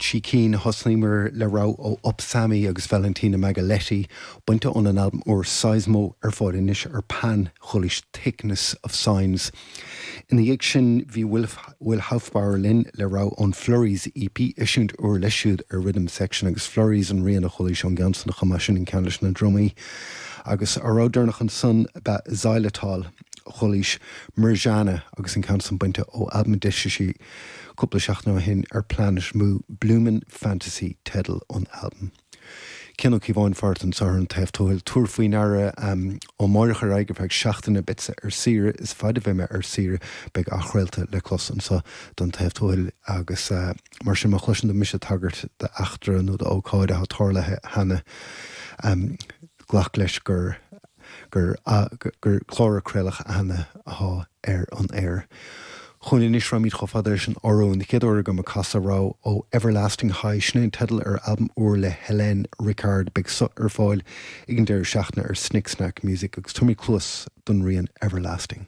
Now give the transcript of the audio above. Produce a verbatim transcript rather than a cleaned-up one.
Trí cinn thosnaíomar le rogha ó Upsammy agus Valentina Magaletti, bainte óna n-albam úr Seismo ar fáil anois ar Pan chualaís Thickness of Signs. Ina dhiaidh sin bhí Will, Will Hofbauer linn le rogha ón Flurries EP eisiúint úr leis siúd ar Rhythm Section agus Flurries an rian a chualaís ón gceann san chomh maith sin an ceann leis na drumaí. Agus an rogha deireanach ansan ba Xylitol chualaís Mirjana agus an ceann san bainte ó albam a d'eisigh sí cúpla seachtain ó shin ar Planet Mu Bloomin' Fantasy teideal an albaim. Cian Ó Cíobháin fárt anseo ar An Taobh Tuathail tabhair faoi ndeara um, ó amárach ar aghaidh feadh seachtaine beadsa ar saoire is fad a bheidh mé ar saoire beidh athchraolta le clos anseo don Taobh Tuathail agus uh, mar sin má chloiseann tú mise ag tagairt d'eachtra nó d'ócáid atá tarlaithe cheana um, glac leis gur gur, uh, gur clár a craoladh cheana atá ar an aer. Chun anois rachaimid chomh fada leis an Fhioróin an chéad uair agam ag casadh rogha ó Everlasting High sin an teideal ar albam úr le Hélène Ricard beidh so ar fáil ag an deireadh seachtaine ar Snick Snack Music agus tabharfaimid cluas don rian Everlasting.